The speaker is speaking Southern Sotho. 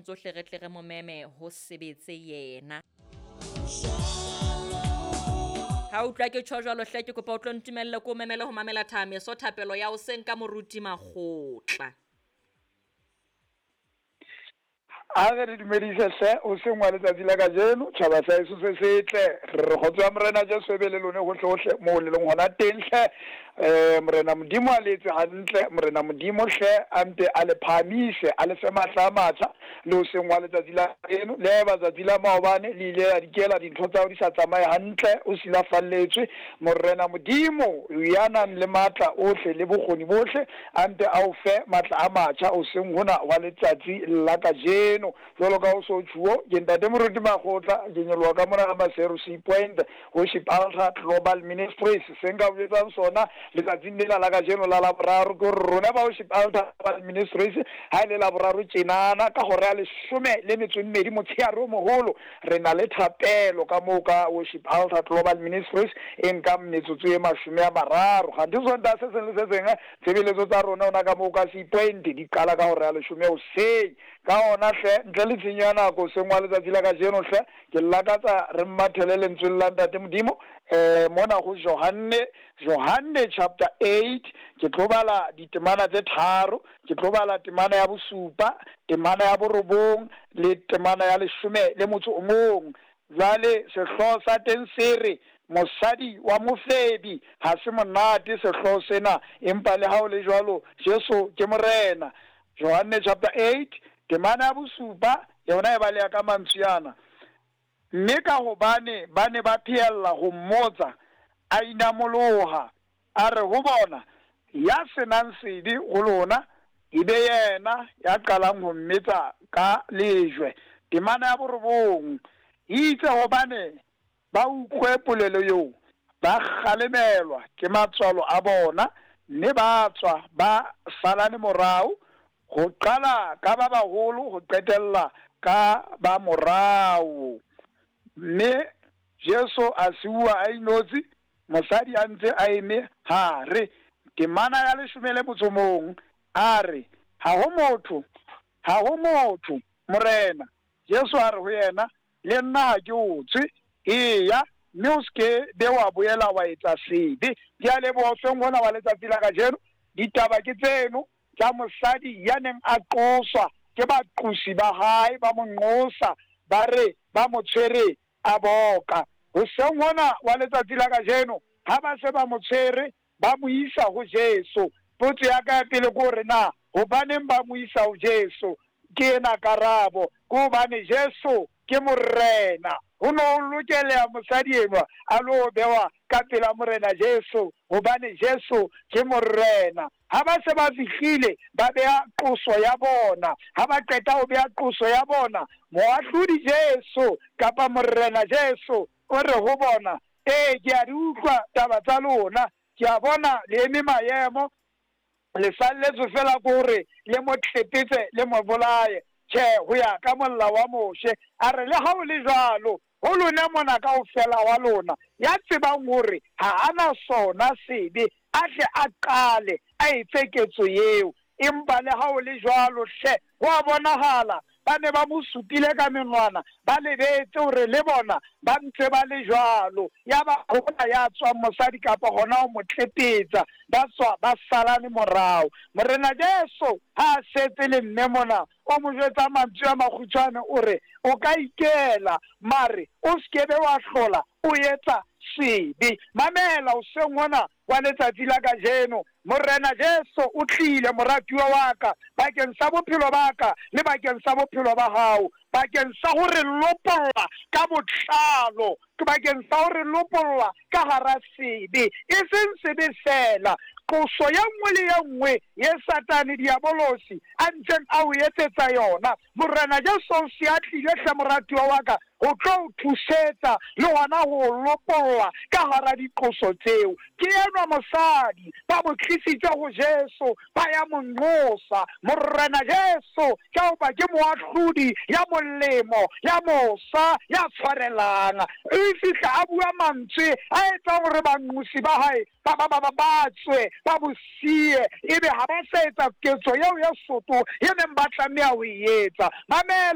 tsohle re tle re mo meme ho sebetse yena. Ha utlwa ke tjho jwalo hle, ke kopa o tlo ntumelle ko memele ho mamela Thameso thapelo ya hoseng ka Moruti Makgotla. A re re dumedise hle hoseng wa letsatsi la kajeno, tjhaba sa heso se setle. Re re kgotso ya Morena Jesu e be le lone hohle hohle moo le leng hona teng hle. Morena Modimo a le etse hantle, Morena Modimo hle a mpe a le phahamise, a le fe matla a matjha le hoseng wa letsatsi la kajeno. Le haeba tsatsi la maobane le ile la dikela dintho tsa hao di sa tsamaye hantle, o silafalletswe, Morena Modimo ya nang le matla ohle le bokgoni bohle a mpe a o fe matla a matjha hoseng hona hwa letsatsi la kajeno. Jwalo ka ho so tjhuo, ke Ntate Moruti Makgotla, ke nyoloha ka mona ka Maseru Sea Point, Worship Altar Global Ministries. Se nka o jwetsang sona letsatsing lena la kajeno la Laboraro ke hore rona ba Worship Altar Global Ministries, ha e le Laboraro tjenana ka hora ya 12 motshehare o moholo, re na le thapelo ka moo ka Worship Altar Global Ministries e nkang metsotso e 30. Kganthe Sontaha se seng le se seng tshebeletso tsa rona ona ka moo ka Sea Point di qala ka hora ya 10 hoseng. Ka hona hle, ntle le tshenyo ya nako hoseng wa letsatsi la kajeno hle, ke lakatsa re mmathele lentsweng la Ntate Modimo mona ho Johanne, Johanne chapter 8, ke tlo bala ditemana tse tharo, ke tlo bala temana ya bosupa, temana ya borobong le temana ya 11. Jwale sehlooho sa teng se re, Mosadi wa mofebi. Ha se monate sehlooho sena, empa le ha ho le jwalo, Jesu ke Morena. Johanne chapter 8, temana ya bosupa, yona e baleha ka mantswe ana. Mme ka hobane ba ne ba phehella ho mmotsa, a inamoloha, a re ho bona, Ya se nang sebe ho lona, e be yena ya qalang ho mmetsa ka lejwe. Temana ya borobong, Eitse hobane ba utlwe polelo eo, ba kgalemelwa ke matswalo a bona, mme ba tswa ba salane morao, ho qala ka ba baholo ho qetella ka ba morao. Mme Jesu a siuwa a inotshi, mosadi a ntse a eme hare. Temana ya 11, a re, Ha ho motho, ha ho motho, Morena. Jesu a re ho yena, Le nna ha ke o tswe, eya, mme o se ke be wa boela wa etsa sebe. Ke a leboha hoseng hona wa letsatsi la kajeno. Ditaba ke tseno tsa mosadi ya neng a qoswa ke baqosi ba hae, ba mo nqosa, ba re ba mo tshwere a boka. Hoseng hona wa letsatsi la kajeno, ha ba se ba mo tshwere, ba mo isa ho Jesu. Potso ya ka ya pele ke hore na hobaneng ba mo isa ho Jesu? Ke ena karabo, ke hobane Jesu ke Morena. Ho no ho lokeleha mosadi enwa a lo bewa ka pela Morena Jesu, hobane Jesu ke Morena. Ha ba se ba fihlile, ba beha qoso ya bona. Ha ba qeta ho beha qoso ya bona, Moahlodi Jesu kapa Morena Jesu o re ho bona, Ee, ke a di utlwa taba tsa lona, ke a bona le eme maemo, le salletswe fela ke hore le mo tlepetse le mo bolaye. Tjhe, ho ya ka molao wa Moshe. A re, Le ha ho le jwalo, ho lona mona kaofela wa lona, ya tsebang hore ha a na sona sebe, a tle a qale a etse ketso eo. Empa le ha ho le jwalo, hle, ho a bonahala ba ne ba mo supile ka menwana, ba lebetse hore le bona ba ntse ba le jwalo. Yaba ha ho na ya tswang mosadi kapa hona ho mo tlepetsa, ba tswa ba salane morao. Morena Jesu ha a setse le mme mona, o mo jwetsa mantswe a makgutshwane, o re, O ka ikela, mare o se ke be wa hlola o etsa sebe. Mamela hoseng hona wa letsatsi la kajeno, Morena Jesu o tlile, moratuwa wa ka, bakeng sa bophelo ba ka le bakeng sa bophelo ba hao, bakeng sa ho re lopolla ka botlalo, bakeng sa ho re lopolla ka hara sebe, e seng sebe feela, qoso ye nngwe le ye nngwe ye Satane Diabolosi a ntseng a o etsetsa yona. Morena Jesu o se a tlile hle, moratuwa wa ka, ho tlo o thusetsa le hona ho o lopolla ka hara diqoso tseo. Ke enwa mosadi, ba mo tlisitse ho Jesu, ba ya mo nqosa. Morena Jesu, ka hoba ke moahlodi ya molemo, ya mosa, ya tshwarelang, o fihla a bua mantswe a etsang hore banqosi ba hae ba ba ba ba tswe, ba mo siye, ebe ha ba sa etsa ketso eo ya soto e neng ba tlameha ho e etsa. Mamela.